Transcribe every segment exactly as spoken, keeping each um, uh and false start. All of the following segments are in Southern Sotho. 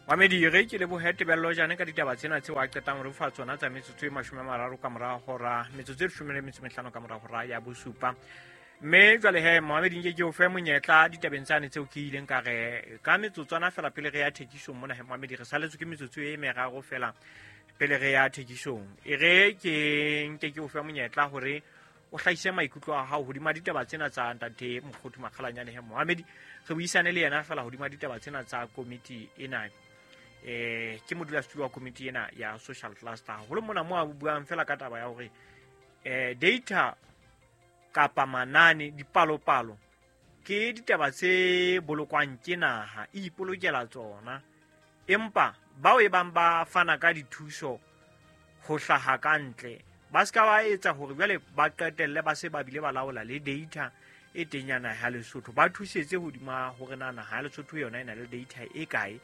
Mamedi re ke lebohe Tebello Jane ka ditaba tsena tseo a qetang re fa tsona tsa metsotso e mashome a mararo ka mora hora, metsotso e leshome le metso e mehlano ka mora hora ya bosupa. Mme jwale he Mohamedi nke ke o fe monyetla ditabeng tsane tseo ke ileng ka re ka metsotswana fela pele re ya thekisong mona he Mohamedi re saletswe ke metsotso e meraro fela pele re ya thekisong. E re ke nke ke o fe monyetla hore o hlahise maikutlo a hao hodima ditaba tsena tsa ntate Mokhothu Makgalanyane he Mohamedi, re buisane le yena fela hodima ditaba tsena tsa komiti ena. Eh ke modulasetulo wa komiti ena ya social cluster haholo mona mo a buang fela ka taba ya hore eh data kapa manane dipalopalo ke ditaba tse bolokwang ke naha e ipolokela tsona, empa bao e bang ba fana ka dithuso ho hlaha ka ntle ba ska ba etsa hore jwale ba qetelle ba se ba bile ba laola le data e teng ya naha ya Lesotho, ba thusetse hodima hore na naha ya Lesotho yona e na le data e kae,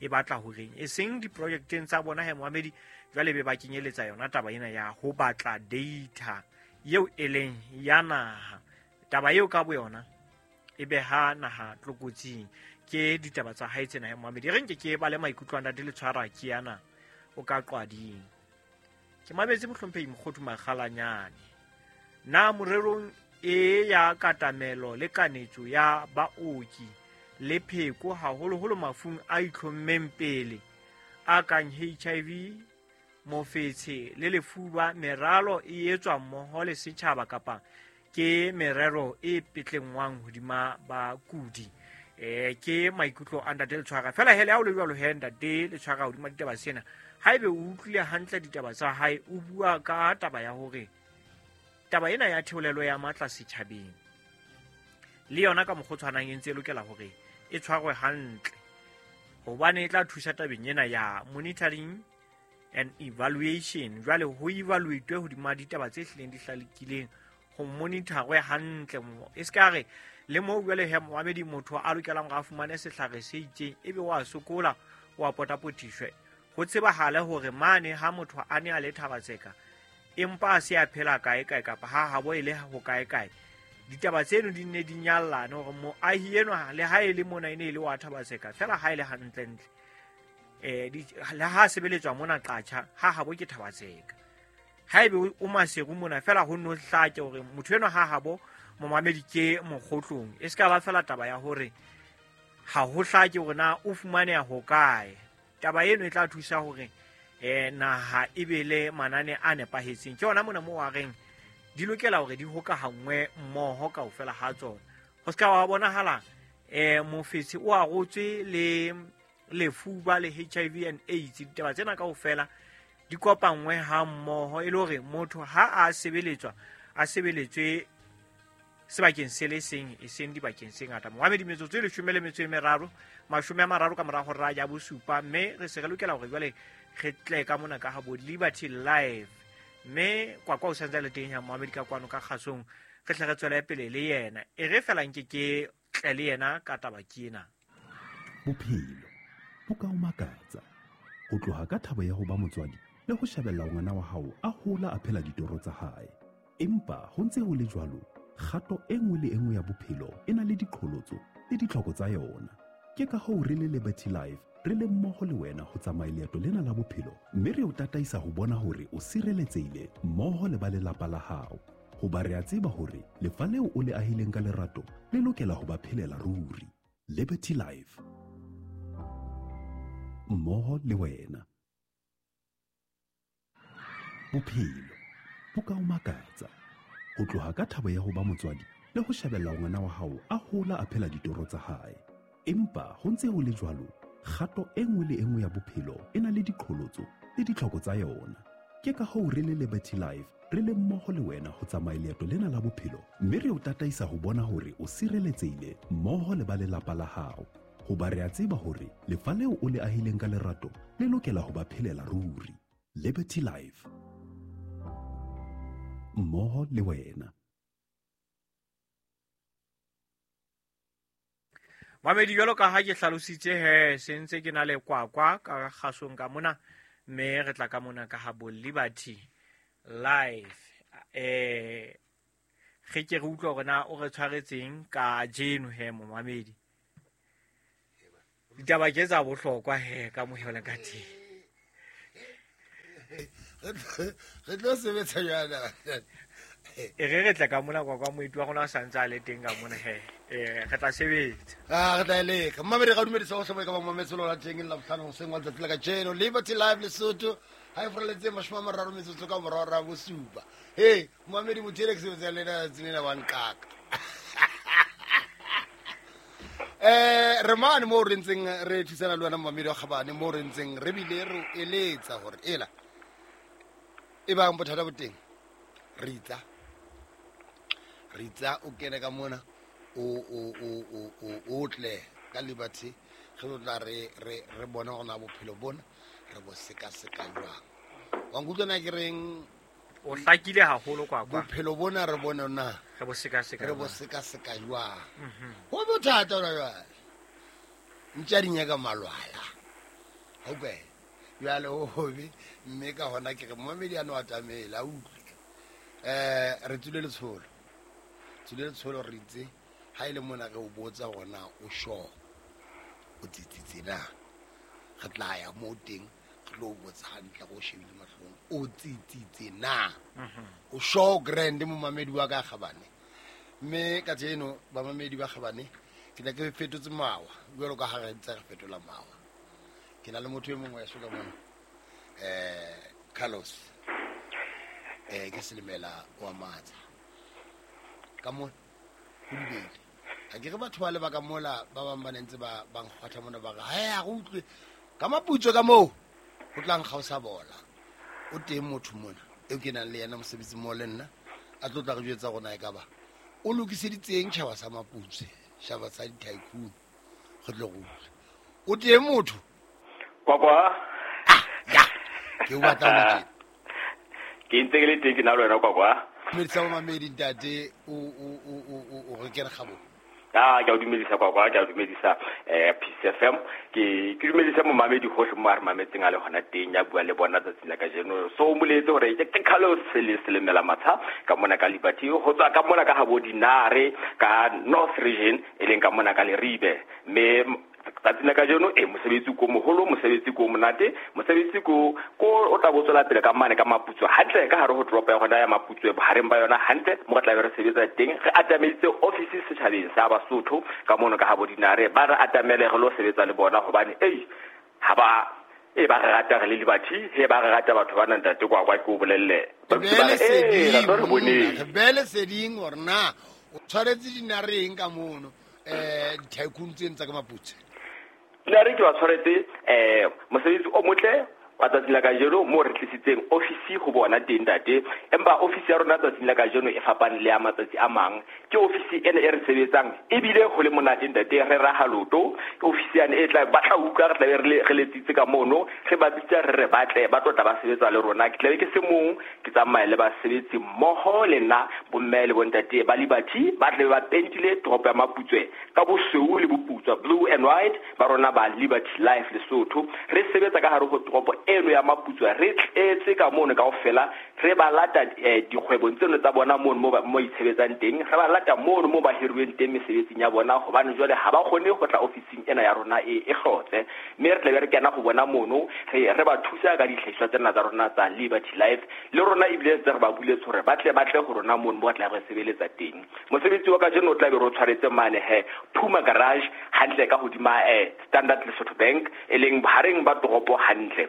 e batla horeng, e seng diprojekteng tsa bona he Mohamedi jwale be ba kenyeletsa yona taba ena ya ho batla data eo e leng ya naha. Taba eo ka boyona e beha naha tlokotsing. Ke ditaba tsa hae tsena he Mohamedi, re nke ke ba le maikutlo a ntate Letshwara ke yana o ka qwading. Ke mametse mohlomphehi Mokhothu Makgalanyane na morerong e ya katamelo le kanetso ya baoki le pheko haholoholo mafung a itlhommeng pele a kang H I V, mofetshe le lefuba, meralo e etswa mmoho le setjhaba kapa ke merero e petlengwang hodima bakudi. Eh ke maikutlo a ntate Letshwara fela hele ha o le jwalo he ntate Letshwara hodima ditaba sena, haebe o utlwile hantle ditaba tsa hae, o bua ka taba ya hore taba ena ya theolelo ya matla setjhabeng le yona ka mokgwa o tshwanang e ntse e lokela hore e tshwarwe hantle hobane e tla thusa tabeng ena ya monitoring and evaluation. Jwale ho evaluate hodima ditaba tse hlileng di hlalekileng, ho monitorwe hantle mo e ska re le mo jwale he Mohamedi motho a lokelang hore a fumane sehlare se itseng ebe wa sokola wa potapotiswe, ho tsebahale hore mane ha motho a ne a le Thabatseka empa a se a phela kae kae kapa ha habo e le ho kae kae, ditaba tseno di nne di nyallane hore moahi enwa le ha e le mona e ne e le wa Thabatseka fela ha e le hantlentle eh le ha sebeletswa mona Qacha ha habo ke Thabatseka, haebe o Maseru mona fela ho no hlake hore motho enwa ha habo momamedi ke Mokgotlong, e ska ba fela taba ya hore ha ho hlake hore na o fumaneha ho kae. Taba eno e tla thusa hore eh naha e be le manane a nepahetseng. Ke yona mona mo wa reng di lokela hore di hokahangwe mmoho kaofela ha tsona, ho ska wa bonahala eh mofetshe o arotswe le lefuba le H I V and AIDS, ditaba tsena kaofela di kopangwe ha mmoho e le hore motho ha a sebeletswa a sebeletswe sebakeng se le seng e seng dibakeng se ngata. Mohamedi metsotso e leshome le metso e meraro mashome a mararo ka mora hora ya bosupa, mme re se re lokela hore jwale re tle ka mona ka habo Liberty Live, mme Kwakwa o santse le teng ya Mohamedi ka kwano ka kgasong, re tle re tswele pele le yena e re fela nke ke tle le yena ka taba ke ena. Bophelo bo ka o makatsa ho tloha ka thabo ya ho ba motswadi le ho shebella ngwana wa hao a hola a phela ditoro tsa hae, empa ho ntse ho le jwalo kgato e nngwe le e nngwe ya bophelo e na le diqholotso le ditlhoko tsa yona. Ke ka hoo re le Liberty Life re le mmoho le wena ho tsamaya leeto lena la bophelo, mme re o tataisa ho bona hore o sireletsehile mmoho le ba lelapa la hao, hoba re a tseba hore lefa leo o le ahileng ka lerato le lokela ho ba phelela ruri. Liberty Life, mmoho le wena. Bophelo bo ka o makatsa ho tloha ka thabo ya ho ba motswadi le ho shebella ngwana wa hao a hola a phela ditoro tsa hae, empa ho ntse ho le jwalo kgato e nngwe le e nngwe ya bophelo e na le diqholotso le ditlhoko tsa yona. Ke ka hoo re le Liberty Life re le mmoho le wena ho tsamaya leeto lena la bophelo, mme re o tataisa ho bona hore o sireletsehile mmoho le ba lelapa la hao, hoba re a tseba hore lefa leo o le ahileng ka lerato le lokela ho ba phelela ruri. Liberty Life, mmoho le wena. Mamedi jwalo ka ha ke hlalositse he se ntse ke na le Kwakwa ka kgasong ka mona, mme re tla ka mona ka habo Liberty Life. Eh re ke re utlwa hore na o re tshwaretseng ka jeno he momamedi. Ditaba ke tsa bohlokwa he ka mohela ka teng. Re tlo sebetsa jwana. E re re tla ka mona kwa kwa moeti wa rona a santse a le teng ka mona he. Eh re tla sebetsa. Ah re tla leka. Mmamedi ga dumedisa go tlhomo ka ba mametse lona teng la botlhano seng wa letsatsi la kajeno Liberty Live Lesotho ha e freletse mashome a mararo metsotso ka morao ra bosupa. Hey mmamedi motho ke sebetsa le nna tselena wa nqaka. Eh re mane mo re ntseng re thusana le wena mmamedi wa Kgabane mo re ntseng re bile re eletsa hore ela e bang bothata bo teng ritsa ritsa o kene ka mona o o o o o tle ka Liberty re tla re re re bona gona bophelo bona re bo seka seka jwang wa nkutlwa na ke reng o hlakile haholo kwa kwa bophelo bona re bona na re bo seka seka re bo seka seka jwang ho bothata ona jwale ntja di nyaka malwala okay jwale ho hobe mme ka hona ke re momedi a no atamela utlwe eh re tsule letsholo tsule letsholo re itse ha ile mona re o botsa gona o sho o tsitsitse na re tla ya mo teng re lo botsa hantle go shebile mahlong o tsitsitse na o sho grand mo mamedi wa ka Kgabane mme ka tseno ba mamedi ba Kgabane ke tla ke fetotse mawa jwalo ka ha re ntse re fetola mawa ke na le motho e mongwe ya soka mona eh Carlos eh ke selemela wa matsa ka mo go dibele a ke re batho ba le ba ka mola ba bang ba nentse ba ba nkgwatha mona ba re ha ya go utlwe ka maputso ka moo ho tlang kgausa bola o teng motho mona eo ke nang le yena mosebetsi mo le nna a tlo tla re jwetsa rona e ka ba o lokiseditseng tjhaba sa maputso tjhaba sa di-tycoon re tlo go utlwa o teng motho kwa kwa ah ya ke o batla ho tjena ke ntse ke le teng ke na le wena kwa kwa dumedisa bo mamedi ntate o o o o re kere gabo ah ke a dumedisa kwa kwa ke a dumedisa eh P C F M ke ke dumedisa mo mamedi hohle mo a re mametseng a le hona teng ya bua le bona tsatsi la kajeno so o moletse hore ke ke Carlos le selemela matsha ka mona ka Liberty ho tswa ka mona ka habo Dinare ka North Region e leng ka mona ka Leribe mme tsatsi la kajeno e mosebetsi ko moholo mosebetsi ko monate mosebetsi ko ko o tla botswela pele ka mane ka Maputsoe hantle ka hare ho toropo ya hona ya Maputsoe bohareng ba yona hantle mo re tla be re sebetsa teng re atameditse office setjhabeng sa Basotho ka mono ka habo Dinare ba re atamele re lo sebetsa le bona hobane ei ha ba e ba re rata re le Liberty he ba re rata batho ba nang ntate kwa kwa ke o bolelle re bele seding hore na o tshwaretse Dinareng ka mono eh di-tycoon tseno tsa ka Maputsoe Dinare ke ba tshwaretse eh mosebetsi o motle wa tsatsi la kajeno mo re tlisitseng office ho bona teng ntate empa office ya rona tsatsing la kajeno e fapane le ya matsatsi a mang ke office ena e re sebetsang ebile ho le monate ntate re raha loto office yane e tla ba tla utlwa re tla be re re letsitse ka mono re ba bitsa re re batle ba tlo tla ba sebetsa le rona ke tla be ke se mong ke tsamaye le basebetsi mmoho le nna bomme le bontate ba Liberty ba tle ba pentile toropo ya Maputsoe ka bosweu le boputswa blue and white ba rona ba Liberty Life Lesotho re sebetsa ka hare ho toropo eno ya Maputsoe re tletse ka mono kaofela re ba lata dikgwebong tseno tsa bona mono mo mo itshebetsang teng re ba lata mono mo ba hiruweng teng mesebetsing ya bona hobane jwale ha ba kgone ho tla ofising ena ya rona e e hlotse mme re tla be re kena ho bona mono re re ba thusa ka dihlahiswa tsena tsa rona tsa Liberty Life le rona ebile tse re ba buletse hore ba tle ba tle ho rona mono mo tla re sebeletsa teng mosebetsi wa kajeno o tla be re o tshwaretse mane he Puma Garage hantle ka hodima eh Standard Lesotho Bank e leng bohareng ba toropo hantle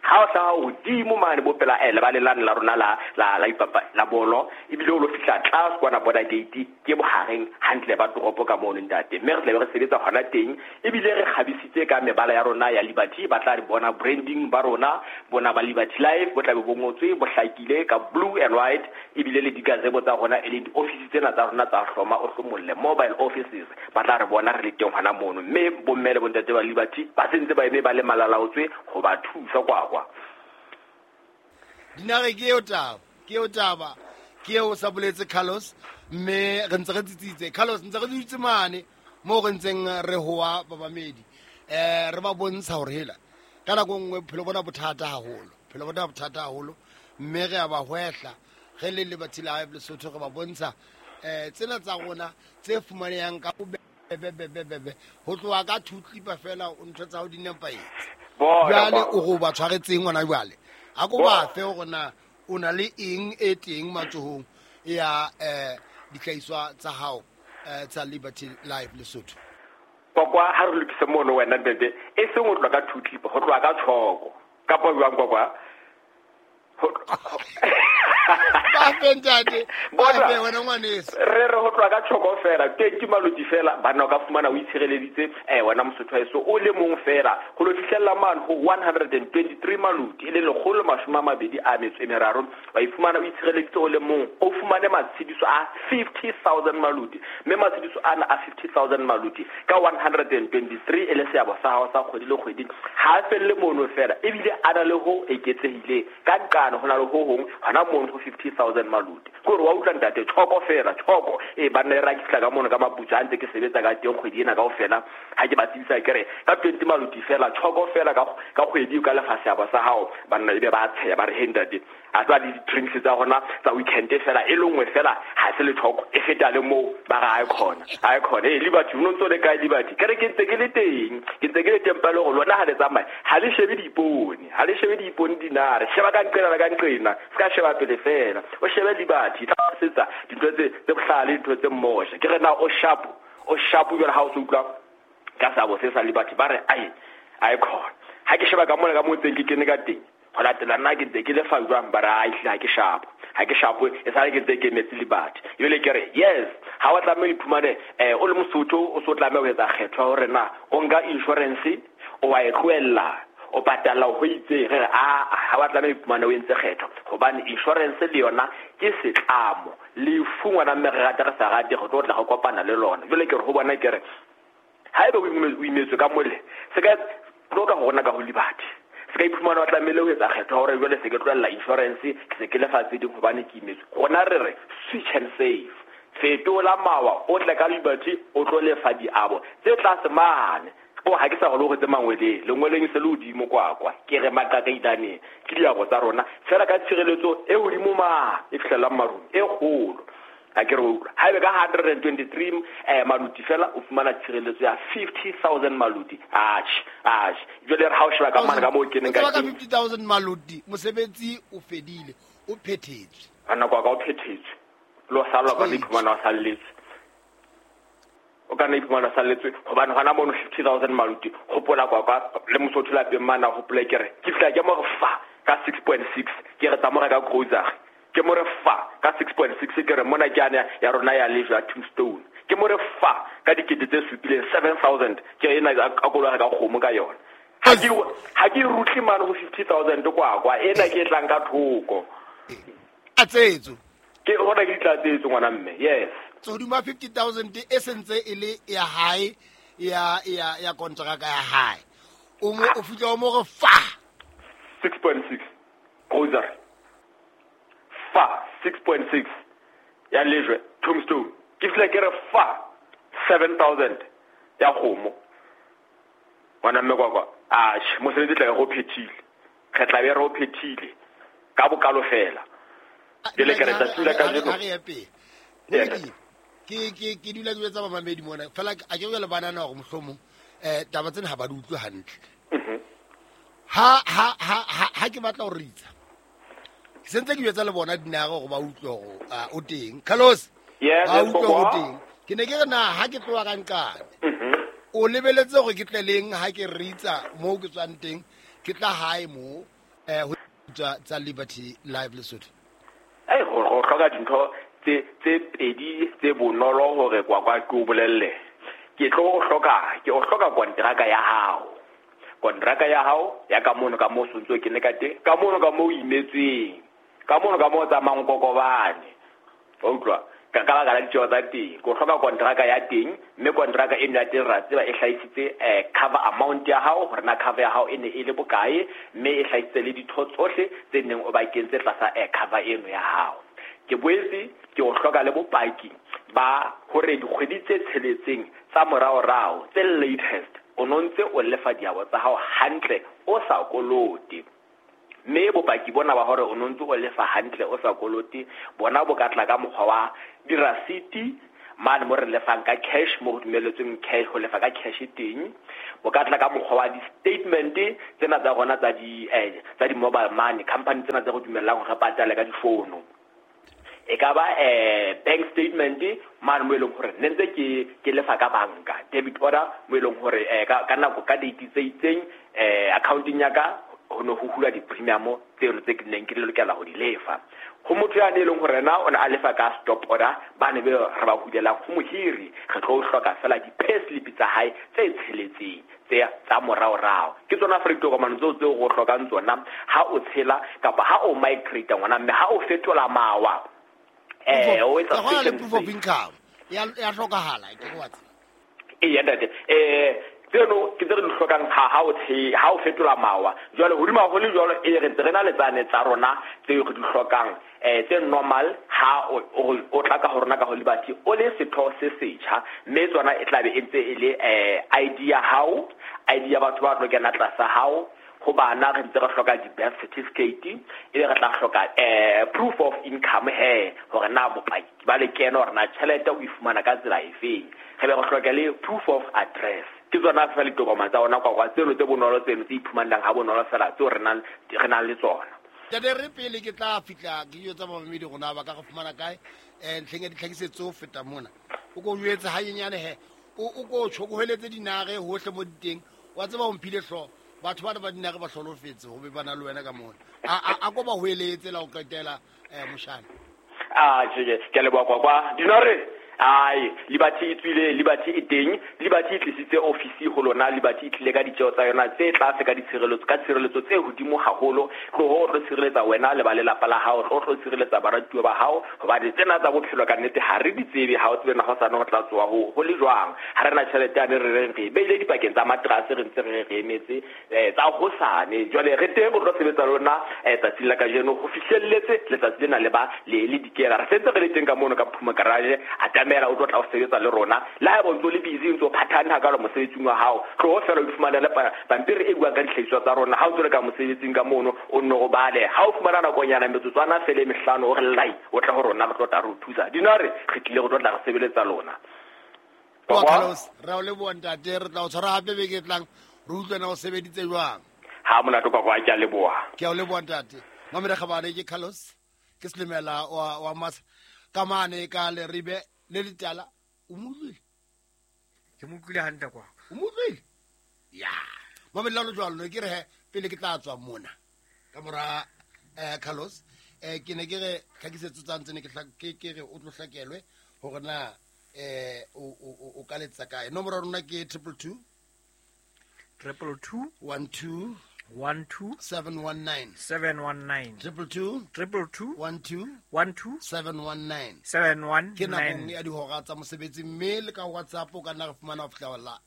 ha o hlaha hodimo mane bo pela eh lebaleng la rona la la la ipapa la bolo ebile o lo fihla tlase kwana border gate ke bohareng hantle ba toropo ka mono ntate mme re tla be re sebetsa hona teng ebile re kgabisitse ka mebala ya rona ya Liberty ba tla re bona branding ba rona bona ba Liberty Life bo tla be bo ngotswe bo hlakile ka blue and white ebile le digazebo tsa rona e leng di-office tsena tsa rona tsa hloma o hlomolle mobile offices ba tla re bona re le teng hona mono mme bomme le bontate ba Liberty ba sentse ba eme ba le malalaotswe ho ba thusa kwa kwa Dinare ke eo taba ke eo taba ke eo sa boletse Carlos mme re ntse re tsitsitse Carlos ntse re dutse mane mo re ntseng re hoa babamedi eh re ba bontsha hore hela ka nako nngwe bophelo bona bothata haholo bophelo bona bothata haholo mme re a ba hwehla re le Liberty Live Lesotho re ba bontsha eh tsena tsa rona tse fumanehang ka Be be be be be ho tloha ka two clipper fela o ntho tsa ho di nepahetse. Jwale o go ba tshwaretseng ngwana jwale. A ko ba fe hore na o na le eng e teng matsohong ya eh dihlahiswa tsa hao eh tsa Liberty Life Lesotho. Kwakwa ha re lokise mono wena ntate e seng ho tloha ka two clipper, ho tloha ka tshoko. Kapa jwang kwakwa? Ba fe ntate, ba fe wena ngwaneso. Re re ho tloha ka tshoko fela, twenty maloti fela bana o ka fumana o itshireleditse eh wena Mosotho eso o le mong fela ho lo fihlella mane ho one hundred and twenty-three maloti e le lekgolo mashome a mabedi a metso e meraro wa ifumana o itshireleditse o le mong o fumane matshediso a fifty thousand maloti mme matshediso ana a fifty thousand maloti ka one hundred and twenty-three e le seabo sa hao sa kgwedi le kgwedi ha a felle mono fela ebile a na le ho eketsehileng ka nqane ho na le ho hong hona mono ho fifty thousand maloti kore wa utlwa ntate tshoko fela tshoko e banna e ra ke fihla ka mono ka maputso a ntse ke sebetsa ka teng kgwedi ena kaofela ha ke ba tsebisa ke re ka twenty maloti fela tshoko fela ka ka kgwedi ka lefa seabo sa hao banna ebe ba tsheya ba re he ntate a tswa le di-drinks tsa rona tsa weekend fela e le nngwe fela ha se le tshoko e feta le moo ba re ha e khona ha e khona e Liberty o ntso le kae Liberty ke re ke ntse ke le teng ke ntse ke le teng pele hore lona ha le tsamaye ha le shebe diipone ha le shebe diipone dinare sheba ka nqena la ka nqena se ka sheba pele fela o shebe Liberty tla setsa dintho tse tse bohlale dintho tse mmosha ke re na o sharp o sharp jwale ha o se utlwa ka sabo se sa Liberty ba re ai ai khona ha ke sheba ka mona ka mo ntseng ke kene ka teng ho latela nna ke ntse ke lefa jwang ba re ai hle ha ke sharp ha ke sharp e sale ke ntse ke emetse Liberty ebile ke re yes ha wa tlameha o iphumane eh o le Mosotho o so tlameha ho etsa kgetho hore na o nka insurance o wa e tlohella o patala ho itse re a ha wa tlameha iphumane o entse kgetho hobane insurance le yona ke setlamo lefu ngwana mme re rata re sa rate go tlo tla go kopana le lona jwale ke re ho bona ke re haeba o imetswe ka mole se ka tlo ka hona ka ho Liberty se ka iphumana wa tlamehile ho etsa kgetho hore jwale se ke tlohella insurance ke se ke lefa tse ding hobane ke imetswe rona re re switch and save fetola mawa o tle ka Liberty o tlo lefa diabo tse tlase mane o ha ke sa go tse mangweleng lengweleng se le hodimo kwa kwa ke re maqakailaneng ke diabo tsa rona fela ka tshireletso e hodimo ma e fihlelang marung e kgolo ha ke re utlwa haebe ka hundred and twenty-three eh maluti fela o fumana tshireletso ya fifty thousand maluti atjhe atjhe jwale re ha o sheba ka mane ka moo ke neng ka ka fifty thousand maluti mosebetsi o fedile o phethetswe a nako ka o phethetswe lo sala ka iphumana o salletse o ka nna iphumana o salletswe hobane hona mono fifty thousand maluti hopola kwa kwa le Mosotho lapeng mana hopola ke re ke fihla ke mo re fa ka six point six ke re tsa mo reka grocery ke mo re fa ka six point six ke re mona ke ane ya rona ya lejwe ya tombstone ke mo re fa ka dikete tse supileng seven thousand ke ena a kologa ka kgomo ka yona ha ke ha ke rutle mane ho fifty thousand kwa kwa ena ke e tlang ka thoko a tsetso ke hona ke ditlatsetso ngwana mme yes hodima fifty thousand e sentse e le ya hae ya ya ya kontraka ya hae o mo o fihla o mo re fa six point six grocery fa six point six ya lejwe tombstone ke fihla ke re fa seven thousand ya kgomo ngwana mme kwa kwa atjhe mosebetsi tla go phethile re tla be re o phethile ka bokalo fela jwale ke re tsatsi la kajeno ha re ya pele ke ke ke dula ke etsa mamedi mona fela a ke le banana hore mohlomong eh taba tsena ha ba di utlwe hantle ha ha ha ha ke batla ho ritsa ke sentse ke etsa le bona dinare hore ba utlwe hore o teng Carlos yes ba utlwe hore o teng ke ne ke re na ha ke tloha ka nqane o lebeletse hore ke tle leng ha ke ritsa moo ke tswang teng ke tla hae mo eh ho tsa tsa Liberty Life Lesotho ai go go hloka dintho tse tse pedi tse bonolo hore kwa kwa ke o bolelle ke tlo o hloka ke o hloka kontraka ya hao kontraka ya hao ya ka mono ka mo sontso ke ne ka teng ka mono ka mo o imetsweng ka mono ka mo tsamayang kokobane wa utlwa ka ka baka la ditjeo tsa teng ke o hloka kontraka ya teng mme kontraka eno ya teng ra tseba e hlahisitse eh cover amount ya hao hore na cover ya hao e ne e le bokae mme e hlahisitse le ditho tsohle tse neng o ba kentse tlasa eh cover eno ya hao ke boetse ke o hloka le bopaki ba hore dikgwedi tse tsheletseng tsa moraorao tse latest o no ntse o lefa diabo tsa hao hantle o sa kolote mme bopaki bona ba hore o no ntse o lefa hantle o sa kolote bona bo ka tla ka mokgwa wa dirasiti mane mo re lefang ka cash, mo go dumelletsweng cash ho lefa ka cash teng. O ka tla ka mokgwa wa di-statement tsena tsa rona tsa di eh, tsa di-mobile money company tsena tse go dumellang hore re patale ka difono. E ka ba eh bank statement mane mo e leng hore ne ntse ke ke lefa ka banka, debit order mo e leng hore eh ka ka nako ka date tse itseng eh accounting ya ka ho no ho hula di-premium tseno tse ke neng ke lokela ho di lefa. Ho motho ya ne leng hore na o ne a lefa ka stop order, ba ne be re ba hulelang ho mohiri, re tlo hloka fela di-payslip tsa hae tse tsheletseng tse tsa moraorao. Ke tsona fela ditokomane tseo tseo go hlokang tsona ha o tshela kapa ha o migrate ngwana, mme ha o fetola mawa eh o etsa le proof of income ya ya hlokahala ke go watse. E ya ntate eh tseno ke tse re di hlokang ha ha o tshe ha o fetola mawa. Jwale hodima ho le jwalo e re ntse re na le tsane tsa rona tse re di hlokang eh tse normal ha o o tla ka ho rona ka ho Liberty o le setho se setjha, mme tsona e tlabe e ntse e le eh I D ya hao, I D ya batho ba tlo kena tlasa hao. Ho bana re ntse re hloka di-birth certificate, ebe re tla hloka eh proof of income he hore na bopaki ba lekeno hore na tjhelete o e fumana ka tsela efeng. Re be re hloka le proof of address. Ke tsona fela ditokomane tsa rona kwa kwa tseno tse bonolo tseno tse iphumanang ha bonolo fela tseo re nang re nang le tsona. Ntate re pele ke tla fihla ke yo tsa mamedi rona ba ka re fumana kae eh ntlheng ya ditlhakisetso ho feta mona. O ko jwetse hanyenyane he o o ko tjhokoheletse dinare hohle mo diteng wa tseba o mphile hlooho. Batho ba ba dinare ba hlolofetse ho be bana le wena ka mona. A a ko ba hoeletse la o qetela eh moshana. Ah tjhe ke a leboha kwa kwa dinare. Ai Liberty e tswile, Liberty e teng, Liberty e tlisitse ofisi ho lona, Liberty e tlile ka ditjeo tsa yona tse tlase ka ditshireletso ka tshireletso tse hodimo haholo. Tloho o tlo tshireletsa wena le ba lelapa la hao, tlo tlo tshireletsa baratuwa ba hao, hobane tsena tsa bophelo ka nnete ha re di tsebe, ha o tsebe na hosane ho tla tsoa ho ho le jwang. Ha re na tjhelete ya ne re reng re beile dipakeng tsa matrase re ntse re re emetse tsa hosane. Jwale re teng ho tlo sebetsa lona tsatsing la kajeno ho fihlelletse letsatsi lena le ba le le dikela. Re sentse re le teng ka mono ka Phuma Garage, atamela o tlo tla o sebetsa le rona. Le ha eba o ntso le busy o ntso phathane hakalo mosebetsing wa hao, tloho fela o ifumanele pampiri e buang ka dihlahiswa tsa rona. Ha o ntso le ka mosebetsing ka mono o nno o bale, ha o fumana nakonyana metsotswana fela e mehlano o re lai o tla ho rona re tlo tla re o thusa. Dinare re tlile go tlo tla re sebeletsa lona. Wa Carlos, re o leboha ntate, re tla o tshwara hape beke e tlang re utlwe na o sebeditse jwang. Ha monate kwa kwa ke a leboha. Ke a o leboha ntate. Mamedi Kgabane ke Carlos, ke Selemela wa wa Masa ka mane ka Leribe le letala. O mo utlwile? Ke mo utlwile hantle kwa. O mo utlwile? Ya. Mamedi la jwalo ne ke re he pele ke tla tswa mona ka mora eh Carlos eh ke ne ke re tlhakisetso tsa ntse ne ke ke ke re o tlo hlakelwe hore na eh o o o ka letsa kae. Nomoro ya rona ke triple two triple two one two one two seven one nine seven one nine triple two triple two one two one two seven one nine seven one ke nakong ya dihora tsa mosebetsi, mme le ka WhatsApp o ka nna re fumana ho fihla wa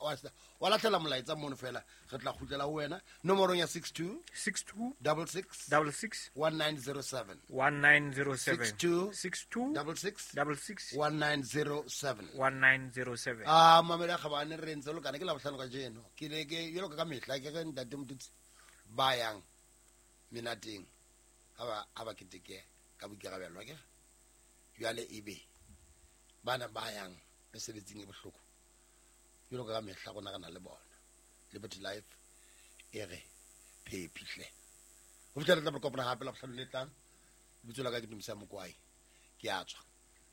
wa lahlela molaetsa mono fela re tla kgutlela ho wena nomorong ya six two six two double six double six one nine zero seven one nine zero seven six two six two double six double six one nine zero seven one nine zero seven. Ah mamela Kgabane re ntse lokana ke la bohlano ka jeno ke le ke jwalo ka mehla ke re ntate Motutsi ba yang menateng ha ba ha ba keteke ka boikarabelo ke jwale ebe bana ba yang mesebetsing e bohloko jwalo ka mehla rona re na le bona. Liberty Life e re phephihle ho fihlela re tla kopana hape la bohlano le tlang. Lebitso la ka ke Dumisa Mokwai, ke a tswa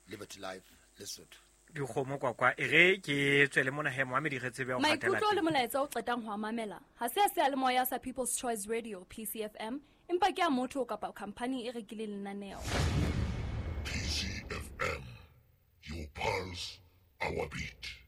Liberty Life Lesotho. Dikgomo kwa kwa e re ke tswele mona he moamedi re tsebe ho hatela. Maikutlo le molaetsa o qetang ho mamela ha se a seyalemoya sa People's Choice Radio P C F M, empa ke a motho kapa company e rekileng lenaneo. P C F M, your pulse, our beat.